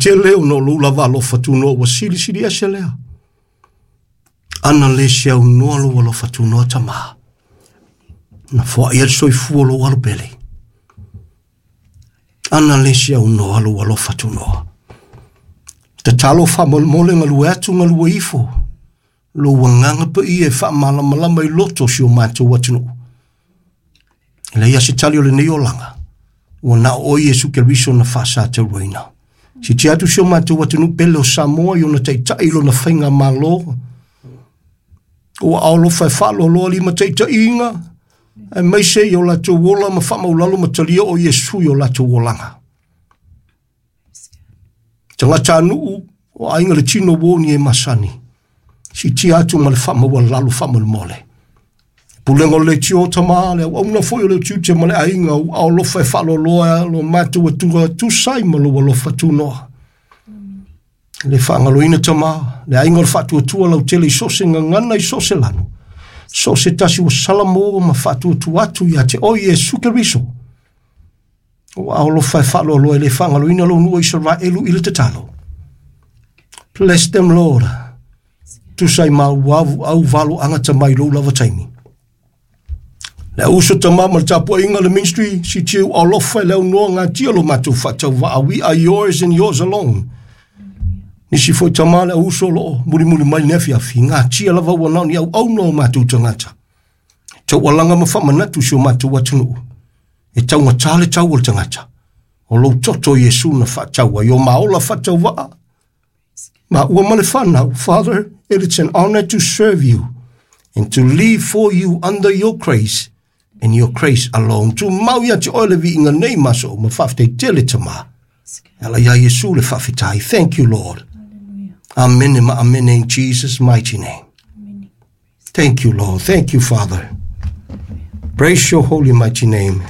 Tele ona o lou lava alofa tunoa ua silisili ese lea. Ana le se aunoa lou alofa tunoa Tama. Na foai ai le soifua o lou alo pele. Ana le se aunoa lou alofa tunoa. Tatalo faamolemole galue atu galue ifo. Lou agaga paia e faamalamalama i loto o si o matou atunuu. E leai lava se tali o lenei olaga, ua na o oe Iesu Keriso na faasatauaina. Siitia atu si o matou atunuu pele o Samoa i ona taitai i lona faigamalo, ua aolofa e faaloaloa limataitaiina, aemaise i o latou ola ma faamaulalo ma talia o Iesu i o latou olaga. Tagatanuu o aiga le tino ua ni e masani, siitia atu ma le faamaualalo faamolemole. Pulega o le leitio Tama, le auauna foi o le tiute ma le aiga, ua aolofa e faaloaloa lo matou atua tusa ai ma lou alofa tunoa. Le faagaloina Tama, le aiga o le faatuatua lautele i so o se gagana i so o se lanu, so o se tasi ua salamo ma faatuatua atu ia te oe Iesu Keriso. Ua aolofa e faaloaloa e le faagaloina lou nuu o Isaraelu i le tatalo. Bless them, Lord. Tusa ai ma au au valo anga tama i lou lava taimi. Le uso tama ma le tapuaiga le ministry, siitia u alofa e le aunoa gatia lo matou faatauvaa. We are yours and yours alone. Nisi foi tama le uso o loo mulimuli mai le afiafi, gatia lava ua nao ni auauna o matou tagata. Taualaga ma faamanatu si o matou atunuu. E taugata le tau o le tagata. O lou toto Iesu na faatau ai o maola faatauvaa. Ma ua ma le whanau, Father, it is an honor to serve you and to live for you under your grace and your grace alone. Tumau ia te oe le viiga nei ma aso uma faafetai tele Tama. E ala ia Iesu le faafetai. Thank you, Lord. Amen ma amen in Jesus' mighty name. Thank you, Lord. Thank you, Father. Praise your holy mighty name.